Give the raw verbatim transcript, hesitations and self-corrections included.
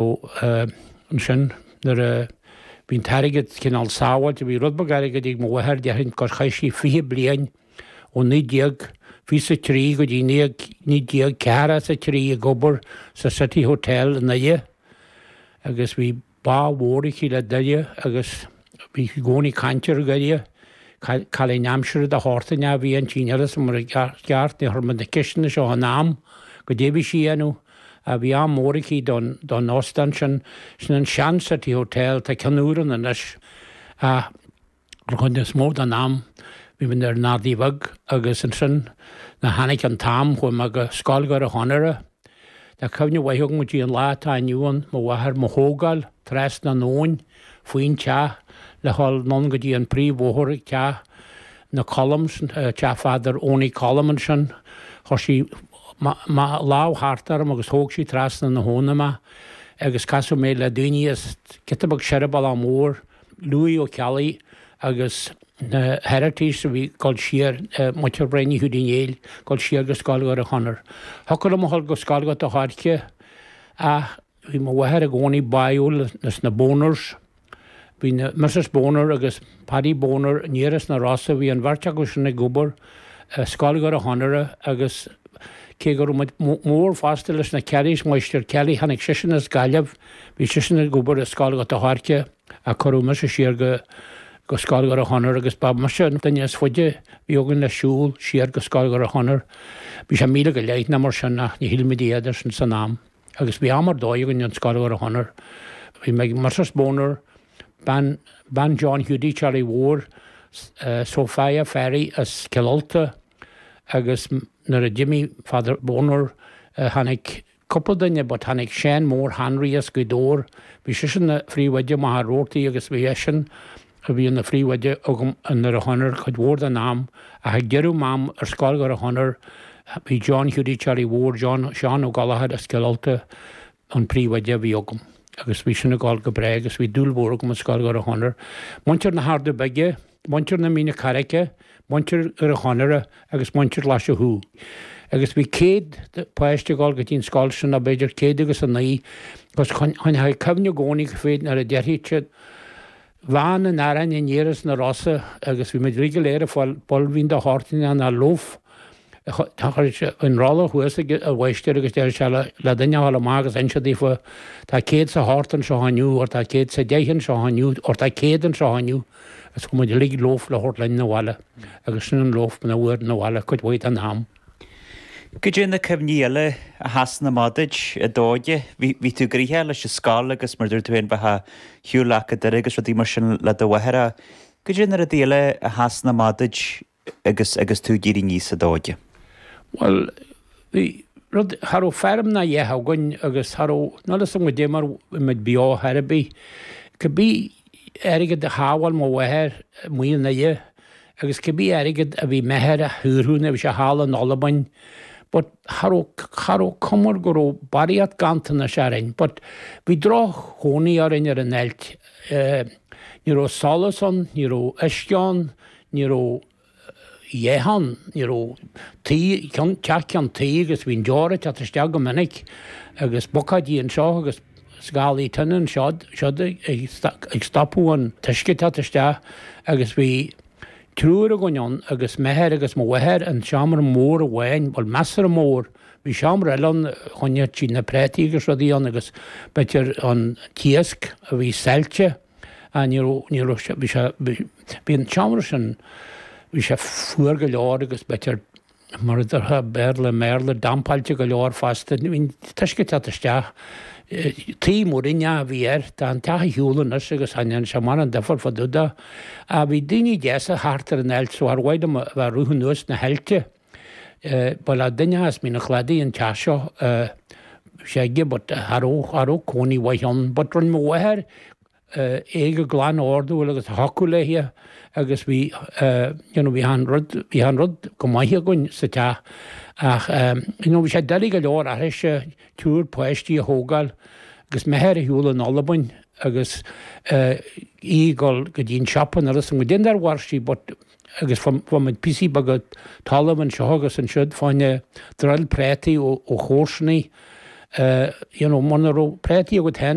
ansin nuair a bhí an t-airgead cineál sábháilte, bhí rud beag airgid ag mo mháthair, déarfainn gur chaith sí fiche bliain ó naoi déag fiche a trí go dtí naoi déag ceathracha is a trí ag obair sa City Hotel i nDoire agus bhí bá mhór aici le Doire agus bhí i gcónaí ag caint ar Dhoire. Cailín aimsire de shórt a bhí inti, níl 'fhios a'm mar ceart, níor chuir muid na ceisteanna seo in am goidé bhí sí a dhéanamh. Bhí ádh mór aici don don óstán sin, sin an sean City Hotel, tá ceann úr ann anois. Ach an chuid is mó den am bhí muid ar an Ardaidh Bheag agus ansin nuair a tháinig an t-am chuaigh mé go Scoil Dhoire Chonaire. Tá cuimhne mhaith agam go dtí an lá atá inniu ann, mo mháthair mo thógáil trasna an abhainn faoin teach le dhul anonn go dtí an príomhbhóthar ag teach na Colms, teach Father Owney Colm ansin. Chuir sí lámh thart orm agus thóg sí trasna na habhna mé agus casadh mé le daoine as giota beag soir an Bealach Mór, Louis Ó Ceallaigh agus na Herriotys a bhí ag dul siar, muintir Bhrenny Hiúdaí Uí Néill, ag dul siar go Scoil Dhoire Chonaire. Thiocfadh liom a dhul go Scoil Ghort a' Choirce ach bhí mo mháthair i gcónaí báúil leis na Boners. Bhí na Misses Boner agus Paddy Boner aniar as na Rosa, bhí an bheirt acu sin ag obair i Scoil Dhoire Chonaire agus cé go raibh muid mór fosta leis na Kellys, Máistir Kelly, tháinig seisean as Gaillimh, bhí seisean ag obair i Scoil Ghort a' Choirce ach cuireadh mise siar go go Scoil Dhoire Chonaire agus ba mise an duine is faide a bhí againn le siúl siar go Scoil Dhoire Chonaire. Bhí sé míle go leith nó mar sin ach ní shíl muid a dhath air sin san am. Agus bhí am ar dóigh againn in Scoil Dhoire Chonaire. Bhí mé ag Misses Boner, bean, bean John Hiúdaí Charlie Mhóir, Sophia Ferry as Cill Ulta agus nuair a d'imigh Father Boner tháinig cúpla duine but tháinig Seán Mór Henry as Gaoth Dobhair, bhí seisean ina phríomhoide i Machaire Rabhartaigh agus bhí eisean a bhí ina phríomhoide agam i nDoire Chonaire cuid mhór den am ach ag deireadh m'am ar Scoil Dhoire Chonaire bhí John Hiúdaí Charlie Mhór, John, Seán Ó Gallchóir as Cill Ulta an príomhoide a bhí agam agus bhí sin ag dul go breá agus bhí dúil mhór agam i Scoil Dhoire Chonaire. Muintir na hArda Bige, muintir na Míne Carraice, muintir Dhoire Chonaire agus muintir Ghlaise Chú. Agus bhí céad páiste ag dul go dtí an scoil sin nó b'fhéidir céad agus a naoi agus choinneoidh cuimhne i gcónaí go nuair a déarfaidh siad Veain an aráin aniar as na Rosa agus bhí muid uilig go léir ag fáil builbhín de shórt ná loaf. Chuir sé an rolla thuas ag an mháistir agus deir sé le duine a dhul amach agus inse daofa tá céad 's a hocht anseo inniu or tá céad 's a deich anseo inniu or tá céad anseo inniu agus chuir muid uilig loaf le thabhairt linn 'na bhaile agus sin an loaf na bhfuair 'na bhaile cuid mhaith den am. Goidé na cuimhní eile a sheasann amach duit i d'óige? Bhí, bhí tú gnoitheach leis an scoil agus mar dúirt tú féin bheith ag shiúl leat go Doire agus rudaí mar sin le do mháthair ach goidé na rudaí eile a sheasann amach duit agus, agus tú ag éirí aníos i d'óige? Bhuel, bhí rud, cha raibh feirm ná a dhath againn agus cha raibh, níl 'fhios a'm goidé mar bhí muid beo chor ar bith. Cibé airgead a shábháil mo mháthair amuigh i nDoire, Agus cibé airgead a bhí m'athair a shaothrú nuair a bhí sé thall in Albain, but cha raibh, cha raibh cuma go raibh barraíocht ganntanais orainn, but bhí droch-chónaí orainn ar an ailt. Ní raibh solas ann, ní raibh uisce ann, ní raibh a dhath ann, ní raibh tuí, ceann, teach ceann tuí agus bhí an deora ag teacht isteach go minic agus bucáidí anseo agus scálaí tine anseo, siúd ag stopadh an t-uisce ag teacht isteach agus bhí triúr againn ann agus m'athair agus mo mháthair in seomra mór amháin, bhuel measartha mór, bhí seomra eile ann, choinneodh siad na prátaí agus rudaí ann agus b'fhéidir an t-iasc a bhí saillte, ah ní raibh, ní raibh sé, bhí sé, bhí an seomra sin, bhí sé fuar go leor agus b'fhéidir mar a déarfá Béarla i mBéarla, dampáilte go leor fosta. Bhí an t-uisce ag teacht isteach. Tuí múiríneach a bhí air. Tá an teach ar shiúl anois agus cha ndéanann sé mórán difear fá dtaobh de. Ach bhí daoine deasa thart ar an ailt so ar mhaith liom a bheith ag rith anuas na haillte. Ba le duine as Mín an Chladaigh an teach seo. Bhí sé aige but cha raibh, cha raibh cónaí mhaith ann. But rinne mo mháthair é go glan ordúil agus a thiocfadh léi agus bhí you know bhí an rud bhí an rud go maith againn sa teach ach you know bhí sé doiligh go leor uirthise triúr páistí a thógáil agus m'athair ar shiúl in Albain agus í ag dul go dtí an siopa nuair is an go dtí ar mhair sí but agus fuair muid píosaí beaga talaimh anseo agus ansiúd fá choinne druil prátaí ó, ó chomharsanaí You know, muna raibh préataí agat féin